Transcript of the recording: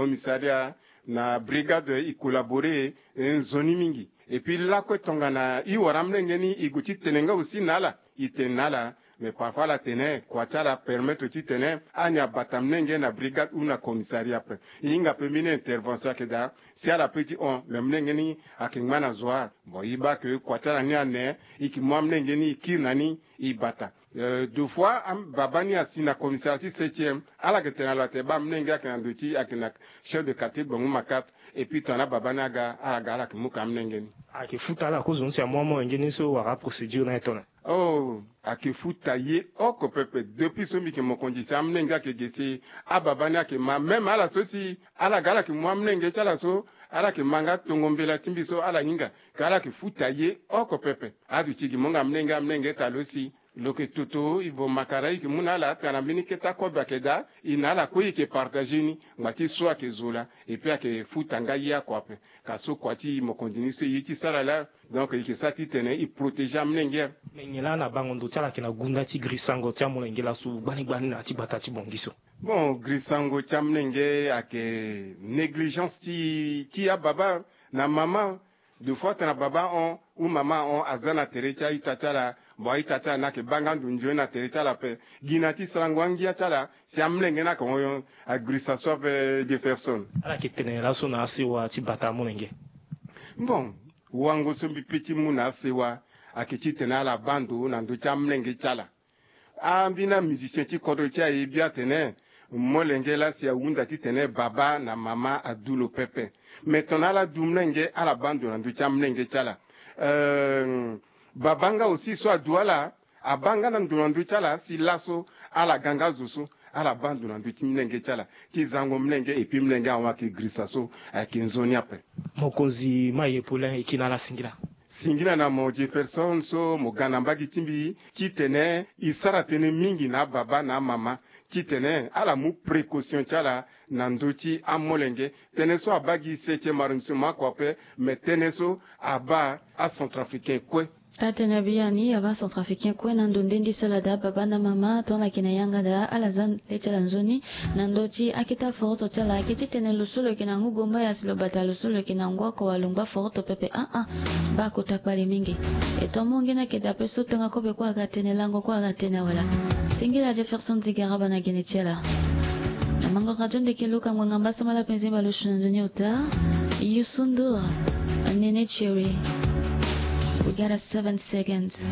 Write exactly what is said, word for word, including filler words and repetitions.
commissariat na brigade e collaborer e nzoni mingi. Et puis lakue tongana e wara amolenge ni e gue ti tene nga aussi na ala, e tene na ala. Mais parfois ala tene kua ti ala apermettre titene ani abata amolenge na brigade ou na commissariat ape. E hinga ape mbeni intervention ayeke daa. Si ala pe ti hon mais amolenge ni ayeke ngba na zo wa. Bon e baa ke kua ti ala ni ane, e yeke mu amolenge ni e kiri na ni e bata. Deux fois baba ni asi na commissariat ti septième, ala yeke tene na lo atene baa amolenge ayeke na ndo ti ayeke na chef de quartier gbongo makate. Et puis tongana baba ni aga ala ga ala yeke mu ka amolenge ni. Ayeke futa ala kozo ni si amu amolenge ni so wala procédure na ye tongana? Oh, ayeke futa ye oko pepe. Depuis so mbi yeke mokonzi si amolenge ayeke ge si ababa ni ayeke ma même ala so si ala ga ala yeke mu amolenge ti ala so ala yeke ma nga tongo mbela ti mbi so ala hinga. Ka ala yeke futa ye oko pepe. Aduti gi mo nga amolenge amolenge ta lo si lo yeke toto e vo makara e yeke mu na ala tana mbeni kete akobe ayeke daa. E na ala kue e yeke partage ni ngba ti so ayeke zo laa. Et puis ayeke futa nga ye oko ape. Ka so kua ti mokonzi ni so e ye ti sara laa. Donc e yeke sara titene e protéger amolenge. Me nyen laa na bango ndo ti ala ayeke na gunda ti grisango ti amolenge laso gbani gbani na ya ti gbata ti bongi so? Bon, grisango ti amolenge ayeke négligence ti ti ababa na mama. Deux fois tana baba ahon ou mama ahon aza na tere ti a-ita ti ala. Bon a-ita ti ala ni ayeke baa nga ndo nzoni na tere ti ala ape. Gi na ti sarango angia ti ala si amolenge ni ayeke hon. Agrisa so ape Jefferson. Ala yeke tene laso na asewa ti bata amolenge? Bon, wango so mbi pe ti mu na asewa ayeke titene ala baa ndo na ndö ti amolenge ti ala. Ambeni amusicien ti kodro ti aye bia atene molenge laa si ahunda titene baba na mama adu lo pepe. Me tongana ala du molenge ala baa ndo na ndö ti amolenge ti ala. Baba nga aussi so adu ala abaa nga na ndo na ndö ti ala si laso ala ga nga zo so ala baa ndo na ndö ti molenge ti ala ti zango molenge et puis molenge ahon ayeke girisa so ayeke nzoni ape. Mokonzi Maye Paulin e kiri na ala singila. Singila na mo Jefferson so mo ga na mbage ti mbi titene e sara tënë mingi na ababa na amama titene ala mu précaution ti ala na ndö ti amolenge. Tënë so abaa gi septième arrondissement kua ape. Me tënë so abaa acentrafricain kue. Atene biani abaa acentrafricain kue na ndo ndendi so ala daa baba na mama tongana ayeke na yanga daa ala za le ti ala nzoni na ndö ti akete aforoto ti ala ayeke titene lo so lo yeke na ngu gombaya si lo bata lo so lo yeke na ngu oko wala lo ngba foroto pepe. Aa, baa kota kpale mingi. E to amonge ni ayeke daa ape so tenga kobe kue aga tene lango kue aga tene wala. Singila Jefferson Zigaraba na gene ti ala. Na mango radio ndeke luka ngbanga mbasambala penze bale osu na nzoni ota. Youssou N'Dour, Néné Chéri. We got a seven seconds.